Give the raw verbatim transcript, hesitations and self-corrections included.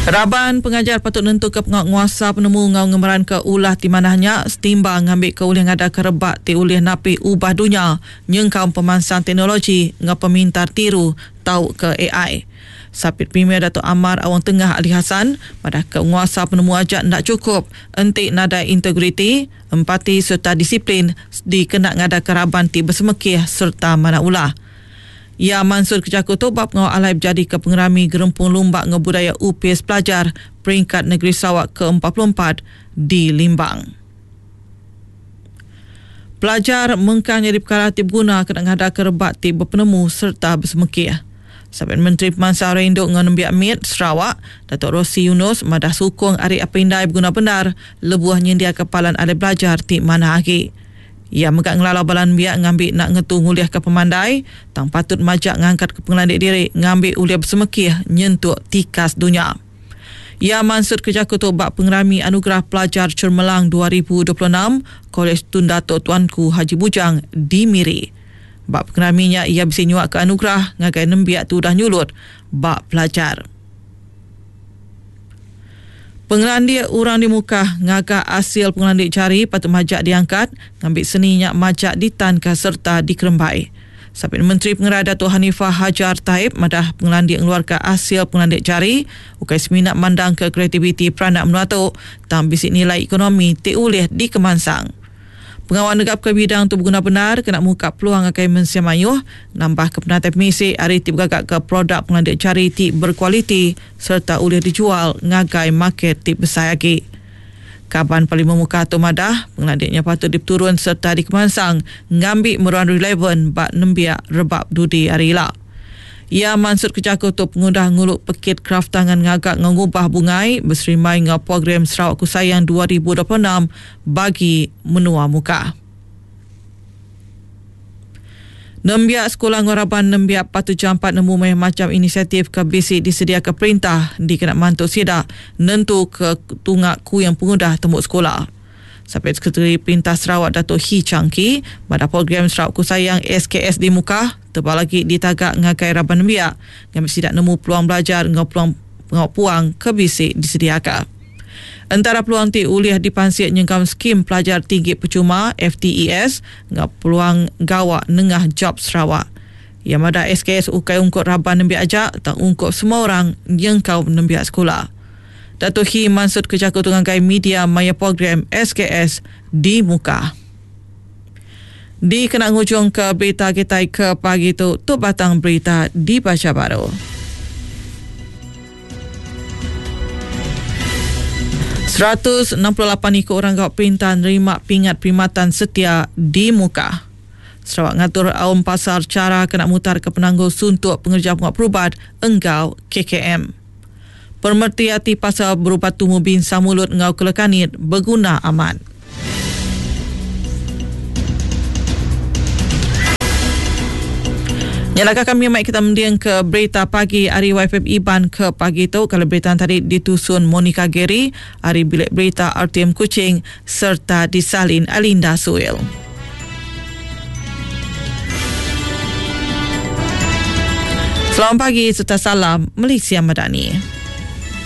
Raban pengajar patut nentu ke penguasa penemu ngau ngemeran ke ulah ti manahnya setimbang ngambil ke ulih ngada ke rebak ti ulih napi ubah dunia nyengkau pemansang teknologi ngau pemintar tiru tau ke A I. Sapit Premier Datuk Amar Awang Tengah Ali Hasan pada penguasa penemu aja ndak cukup enti nadai integriti, empati serta disiplin dikena ngada ke raban ti bersemekih serta mana ulah. Ya Mansur Kejaku tu bab ngau alai berjadi ke pengerami Gerempung Lumbak Ngau Budaya U P S Pelajar Peringkat Negeri Sarawak ke empat puluh empat di Limbang. Pelajar mengkang jadi perkara ti berguna kena ngada ke rebak ti berpenemu serta bersemekih. Sapit Menteri Pemansang Rinduk Ngau Nembiak M I T Sarawak, Datuk Rosey Yunus madah sukung ari apindai berguna benar lebuh nyendia kepalan alai belajar ti mana agi. Ia megak ngelalau balan biak ngambil nak ngetu ngulih ke pemandai, tang patut majak ngangkat ke pengelandik diri ngambil ulia bersemekih nyentuk tikas dunia. Ia mansut kerja ketua bak pengerami Anugerah Pelajar Cemerlang dua ribu dua puluh enam Kolej Tun Datuk Tuanku Haji Bujang di Miri. Bak pengeraminya ia bisa nyuak ke anugerah ngagai nembiak tu dah nyulut bak pelajar. Pengelandik orang di muka ngagak hasil pengelandik jari patut majak diangkat ngambil seninya majak ditanka serta dikerembai. Sapit Menteri Pengarah Datuk Hanifah Hajar Taib madah pengelandik ngeluarkan hasil pengelandik jari ukai seminat mandang ke kreativiti peranak menua tu tang bisik nilai ekonomi ti ulih dikemansang. Pengawal negap ke bidang tu berguna benar kena muka peluang akai mensia mayuh nambah ke penatai pemisi hari ti bergagak ke produk pengelandik jari ti berkualiti serta ulih dijual ngagai market ti besar lagi. Kaban Parlimen Muka tu madah pengelandiknya patut diturun serta dikemansang ngambil meruan relevan bak nembiak rebak dudi hari ila. Ia mansut kejaku tu pengudah nguluk pekit kraft tangan ngagak ngubah bungai berserimai ngau program Sarawak Ku Sayang dua ribu dua puluh enam bagi menua muka. Nembiak sekolah ngoraban nembiak patut jampat nemu meh macam inisiatif ke bisi disediakan perintah dikena mantu sidak nentu ke tungak ku yang pengudah tembuk sekolah. Sampai Sekretari Perintah Sarawak Datuk Hii Chang Kee pada program Sarawak Ku Sayang S K S di Mukah tebal lagi ditagak ngagai raban nembiak ngambil sidak nemu peluang belajar ngau peluang pengau puang ke bisi disediakan. Antara peluang ti ulih dipansik nyengkam skim pelajar tinggi percuma F T E S ngau peluang gawak nengah job Sarawak. Yang madah S K S ukai ungkut raban nembiak ajak tak ungkup semua orang nyengkau nembiak sekolah. Datuk Hii mansut kejaku tungangkai media maya program S K S di Mukah. Di kena ngujung ke berita kita ke pagi tu, tu batang berita dibaca baru. seratus enam puluh lapan ikut orang gawat perintah nerima pingat perkhidmatan setia di Mukah. Sarawak ngatur aum pasar cara kena mutar ke penanggul suntuk pengerja penguat perubat enggau K K M. Permertiati pasal berubat tumu bin samulut ngau kelekanit berguna amat. Nyalaka kami mai kita mendiang ke berita pagi hari Y F M Iban ke pagi tu. Kalau berita tadi ditusun Monica Gary, hari bilik berita R T M Kuching serta disalin Alinda Suil. Selamat pagi serta salam Malaysia Madani.